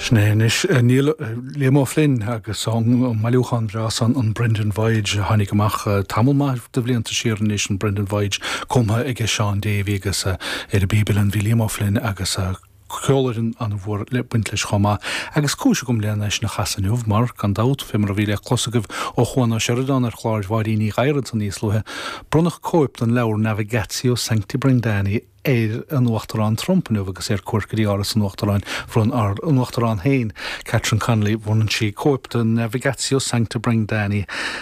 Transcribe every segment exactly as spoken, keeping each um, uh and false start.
Sin é anois Neil Liam O'Flynn agus an bailiúchán breá san an Brendan Voyage a tháinig amach tamall maith de bhlianta siar anois an Brendan Voyage cumtha ag Seán Davy agus ar an bpíb uilleann bhí Liam O'Flynn agus ceolfhoireann an-mhór le baint leis chomh maith agus cúis agam lena sin a chasadh inniu mar gan dabht fé mar a bhí le clos agaibh ó Chuan Ó Seireadáin ar chlár Mháirín Ní Ghadhra níos luaithe bronnadh cóip den leabhar Navigatio Sancti Brendani ar an Uachtarán Trump inniu agus ar cuairt go dtí Áras an Uachtaráin bhronn ár n-uachtarán féin Catherine Connolly bhronn sí cóip de Navigatio Sancti Brendani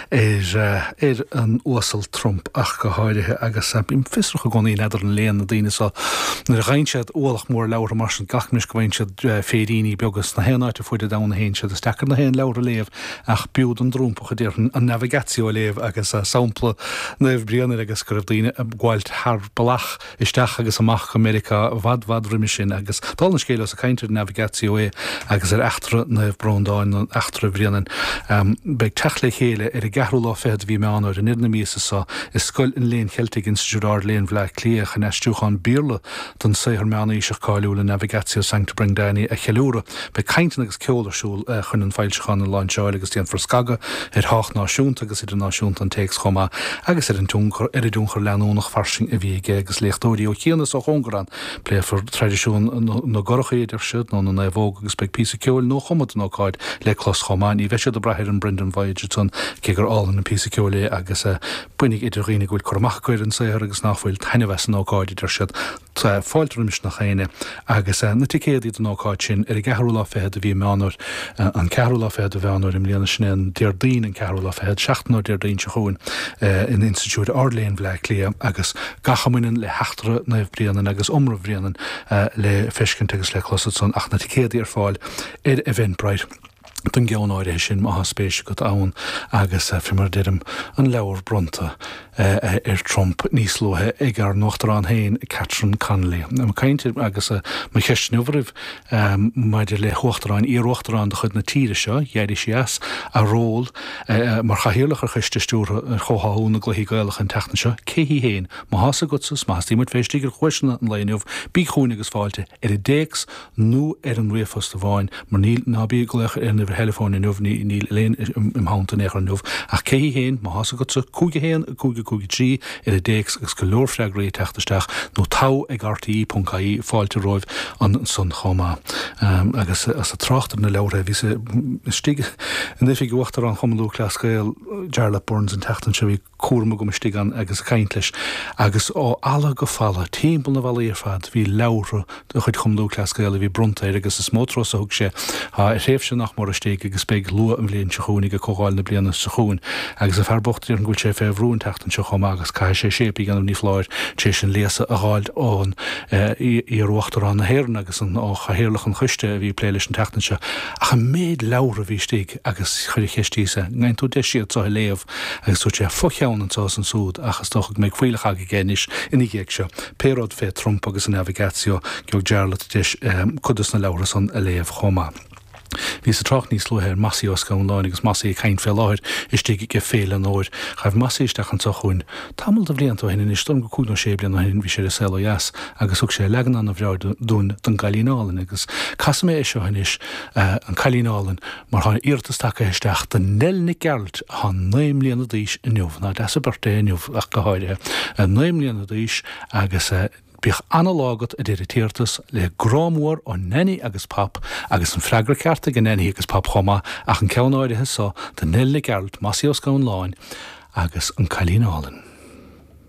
ar ar an uasal Trump ach go háirithe agus bím fiosrach i gcónaí n'fheadar an léann na daoine seo nuair a gheibheann siad ualach mór leabhartha mar sin glacaim leis go bhfaigheann siad féiríní beaga sna haon áit ar fuaid an domhain a théann siad is deacair na haon leabhar a léamh ach b'fhiú don dTrumpach a déarfainn an Navigatio a léamh agus sampla Naomh Bréanainn agus go raibh daoine ag gabháilt thar bealach isteach agus amach go Meiriceá i bhfad bhfad roimhe sin agus dála an scéil ós ag caint ar Navigatio é agus ar eachtra Naomh Breandán nó eachtra Bhréanainn. Beidh teacht le chéile ar an gceathrú lá fichead de mhí Meán Fhómhair i ndeireadh na míosa seo i Scoil an Léinn Cheiltigh Institiúid Ard-Léinn Bhaile Átha Cliath chun aistriúchán Béarla den saothar meánaoiseach cáiliúil an Navigatio Sancti Brendani a cheiliúradh. Beidh cainteanna agus ceol ar siúl chun an foilseachán a láinseáil agus déanfar scagadh ar thábhacht náisiúnta agus idirnáisiúnta an téacs chomh maith agus ar an tionchar ar an dtionchar leanúnach fairsing a bhí aige agus léachtóirí ó chian is ó chóngar ann. Pléifear traidisiún na gcurachaí, a deir siad, nó na naomhóg agus beidh píosa ceoil nuachumtha don ócáid le clos chomh maith. Ní bheidh siad ag brath ar an Brendan Voyage ansan, cé gur álainn an píosa ceoil é agus bainfidh idir dhaoine go bhfuil cur amach acu ar an saothar agus nach bhfuil taitneamh as an ócáid, a deir siad. Tá fáilte roimis nach éinne agus na ticéadaí don ócáid sin ar an gceathrú lá fichead de mhí Meán Fhómhair, an ceathrú lá fichead de Mheán Fhómhair i mbliana, sin é an Déardaoin an ceathrú lá fichead, seachtain ó Déardaoin seo chugainn in Institiúid Ard-Léinn Bhaile Átha Cliath agus gach a mbaineann le heachtra Naomh Bréanainn agus iomramh Bhréanainn le feiscint agus le clos ansan ach na ticéadaí ar fáil ar Eventbrite don gceann áirithe sin má tá spéis agat ann agus fé mar a deirim an leabhar bronnta ar Trump níos luaithe ag ár n-uachtarán féin Catherine Connolly. Ag caint agus mo cheist inniu oraibh maidir le huachtarán, iar-uachtarán de chuid na tíre seo, d'éirigh sí as a ról mar chathaoirleach ar choiste stiúrtha ar chomhtháthú na gCluichí Gaelacha an tseachtain seo, cé hí féin? Má thá's agatsa 's má theastaíonn muid fé istigh ar chluaiseanna an lae inniu, bí chugainn agus fáilte ar an dtéacs nó ar an ríomhphost amháin, mar níl, ná bí ag glaoch ar an uimhir theileafóin inniu, ní, níl Elaine im theannta in aon chor inniu, ach cé hí féin, má thá's agatsa, cúig a haon, cúig a cúig a trí ar an dtéacs agus go leor freagraí ag teacht isteach, nó togha ag rte ponc ie, fáilte romhaibh ansan chomh maith. Agus as ag trácht ar na leabhartha, bhíos istigh in oifig Uachtarán Chumann Lúthchleas Gael, Jarlath Burns, an tseachtain seo, bhí cúram agam istigh ann agus ag caint leis, agus ó fhalla go falla, timpeall na bhfallaí ar fad, bhí leabhartha de chuid Chumann Lúthchleas Gael a bhí bronnta air agus is mó turas a thug sé ar thréimhse nach mór istigh agus beidh luath an bhliain seo chugainn ag comhdháil na bliana seo chugainn agus an fear bocht déarfainn go bhfuil sé fé bhrú an tseachtain seo chomh maith agus caithfidh sé séip a dhéanamh ní foláir tar éis an léasadh a dh'fháilt ón iar-Uachtarán na hÉireann agus an ó Chathaoirleach an Choiste a bhí ag plé leis an tseachtain seo ach an méid leabhar a bhí istigh agus chuir an cheist thíos é an bhfaigheann tú deis iad seo a léamh agus dúirt sé fo-cheann anseo is ansúd ach is dócha go mbeidh fuílleach agaibh anois ina dhiaidh seo pé rud fé Trump agus an Navigatio gheobhaidh Jarlath deis cuid dos na leabhartha san a léamh chomh maith. Bhíos ag trácht níos luaithe ar Mossie Ó Scanláin agus Mossie ag caint fé láthair istigh ag Féile an Fhómhair. Ghaibh Mossie isteach anseo chugainn tamall de bhlianta ó shin anois, dóigh liom gur cúig nó sé bliana ó shin, bhí sé ar an Saol Ó Dheas agus thug sé leagan ana-bhreá dúinn den gCailín Álainn agus casfaidh mé é seo anois, An Cailín Álainn, mar tá iarratas tagtha isteach do Nell Nic Gearailt atá naoi mbliana d'aois inniu, nach deas an birthday é inniu ach go háirithe, naoi mbliana d'aois agus bíodh ana-lá agat a deir an t-iarratas, le grá mór ó Nanny agus Pop agus an freagra ceart ag Nanny agus Pop chomh maith ach an ceann áirithe so do Nell Nic Gearailt, Mossie Ó Scanláin agus An Cailín Álainn.